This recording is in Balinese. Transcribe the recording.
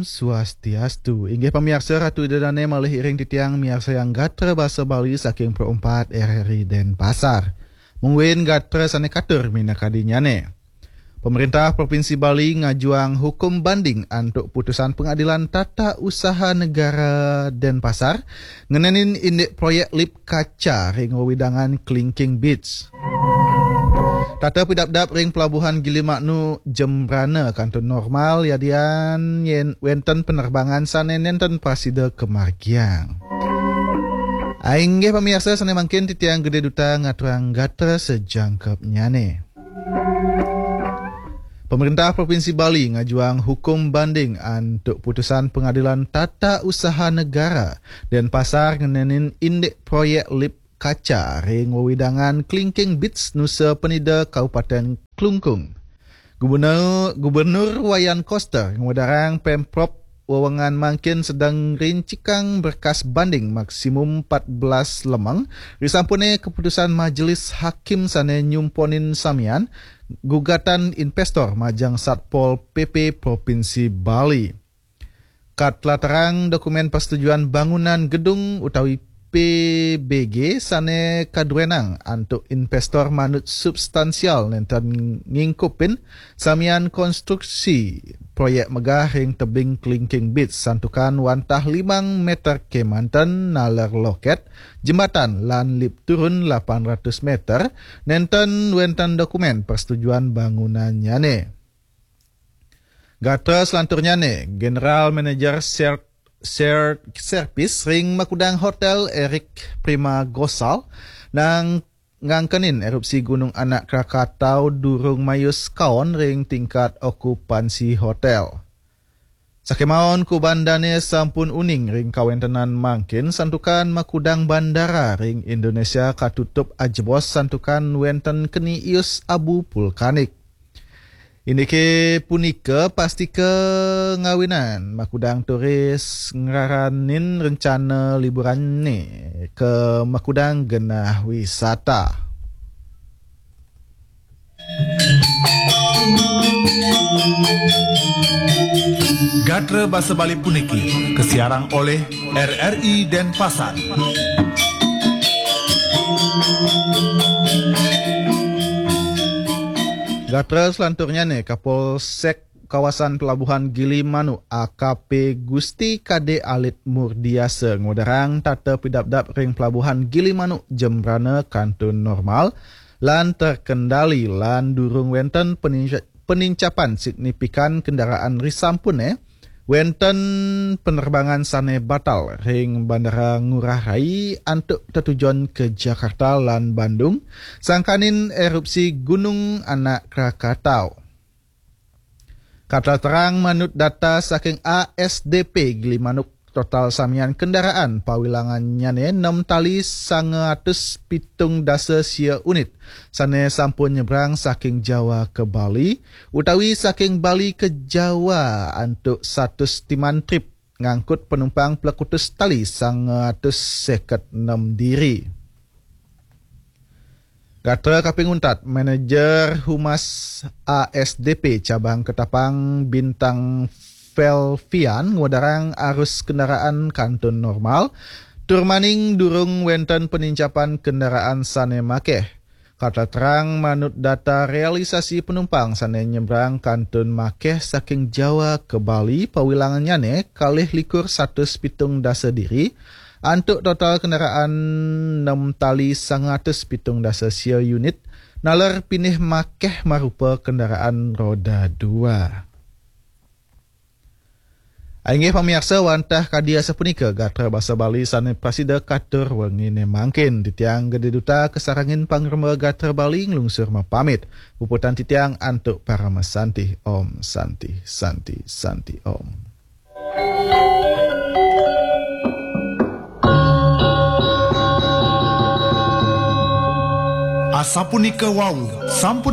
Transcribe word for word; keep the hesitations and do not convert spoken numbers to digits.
Swastiastu. Inggih pamiarsa, Ratu Ida Dane malih iring titiang miarsayang gatra basa Bali saking Pro empat R R I Denpasar. Mungguing gatra sane katur minakadinyane. Pemerintah Provinsi Bali ngajuang hukum banding antuk putusan Pengadilan Tata Usaha Negara Denpasar ngenenin indik proyek lip kaca ring wewidangan Clinking Beach. Tata pidabdab ring Pelabuhan Gilimanuk Jembrana kantun normal yadian yen wenten penerbangan sane nenten prasida kamargiang. Inggih pamiarsa sane mangkin titiang Gede Duta ngaturang gatra sajangkepnyane. Pemerintah Provinsi Bali ngajuang hukum banding antuk putusan Pengadilan Tata Usaha Negara Denpasar ngenenin indik proyek lip kaca ring wewidangan Clinking Beach Nusa Penida Kabupaten Klungkung. Gubernur, Gubernur Wayan Koster ngwedarang Pemprov wewengan mangkin sedeng ngrincikang berkas banding maksimum empat belas lemeng, risampune keputusan Majelis Hakim sane nyumponin samian gugatan investor majeng Satpol P P Provinsi Bali. Katlatarang dokumen persetujuan bangunan gedung utawi P B G sane kaduenang antuk investor manut substansial nenten ngingkupin samian konstruksi proyek megah ring tebing Clinking Beach santukan wantah limang meter kemanten naler loket, jembatan lan lip turun lapan ratus meter, nenten wenten dokumen persetujuan bangunannyane. Gatra selanturnyane, General Manager Ser-, Ser-, Servis ring Makudang Hotel Eric Prima Gosal nang ngangkenin erupsi Gunung Anak Krakatau durung mayus kaon ring tingkat okupansi hotel. Sakemaon kubandane sampun uning ring kawentenan mangkin santukan makudang bandara ring Indonesia katutup ajebos santukan wenten keni ius abu vulkanik. Indike punika pastika ngawinan makudang turis ngraranin rencana liburanne ke makudang genah wisata. Gatra basa Bali puniki kasiarang oleh R R I Denpasar. Gatra selanturnyane, Kapolsek Kawasan Pelabuhan Gilimanuk A K P Gusti Kade Alit Murdiasa ngwedarang tata pidabdab ring Pelabuhan Gilimanuk Jembrana kantun normal lan terkendali lan durung wenten peninca-, penincapan signifikan kendaraan risampune wenten penerbangan sane batal ring Bandara Ngurah Rai antuk tetujon ke Jakarta lan Bandung, sangkaning erupsi Gunung Anak Krakatau. Katra terang manut data saking A S D P Gilimanuk, total samian kendaraan pawilangannyane nem tali sanga atus pitung dasa sia unit, sane sampun nyebrang saking Jawa ke Bali, utawi saking Bali ke Jawa antuk satus timan trip ngangkut penumpang plekutus tali sanga atus seket nem diri. Gatra kaping untat, Manajer Humas A S D P Cabang Ketapang Bintang Felvian ngwedarang arus kendaraan kantun normal, tur maning durung wenten penincapan kendaraan sane makeh. Katra terang manut data realisasi penumpang sane nyebrang kantun makeh saking Jawa ke Bali, pawilangannyane kalih likur satus pitung dasa diri, antuk total kendaraan nem tali sanga atus pitung dasa sia unit, naler pinih makeh marupa kendaraan roda dua. Inggih pamiarsa, wantah kadi asapunika gatra basa Bali sane prasida katur wengine mangkin. Titiang Gede Duta kasarengin pangremba gatra Bali nglungsur mapamit. Puputang titiang antuk parama santi. Om Santi, Santi, Santi Om. Asapunika wau, sampun